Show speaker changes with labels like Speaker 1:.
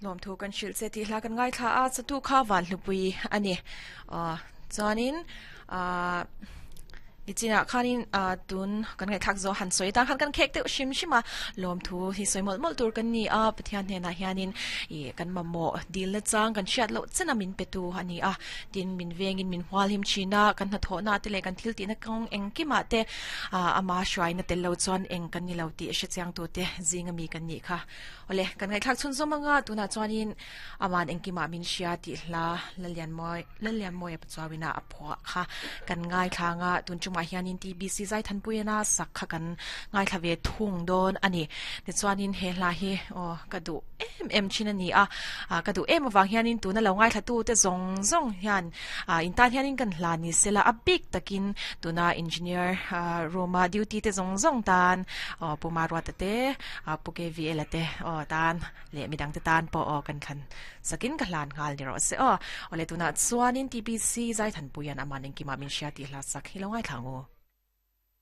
Speaker 1: Lawmthu kan hrilh che tih hla kan ngaithla a, chatu kha Vanhlupui a ni. Aw chuanin ah nichinah khanin ah tun kan ngaihthlak zawh han sawi tan khan kan khek deuh hrim hrim a, lawmthu hi sawi mawlh mawlh tur kan ni a, Pathian hnenah hianin ih kan mamawh dilna chang kan hriat loh chena min petu a ni a, tin min vengin min hualhim thin a, kan hnathawhna te leh kan thil tihna kawng engkimah te ah ama hruaina tel lo chuan eng kan ni lo tih hrechiang tute zinga mi kan nih kha. Awle, kan ngaihthlak chhun zawm anga tunah chuanin aman engkimah min hria tih hla Lallianmawi Lallianmawia Pachuauina a phuah kha kan ngaithla anga tun chungah hianin TBC Zaithanpuiana sak kha kan ngaithla ve thung dawn a ni. Tichuanin he hla hi aw ka duh em em thin a ni a, ka duh em avang hianin tuna lo ngaithla tute zawng zawng hian in tan hianin kan hla ni sela a bik takin tuna engineer room a duty te zawng zawng tan aw Pu Maruata te Pu KVL-a te aw tan leh midang te tan pawh aw kan thlan sakin ka hlan nghal ni rawh se aw. Awle tunah chuanin TBC Zaithanpuia'n aman engkimah min hria tih hla sak hi lo ngaithla ang u.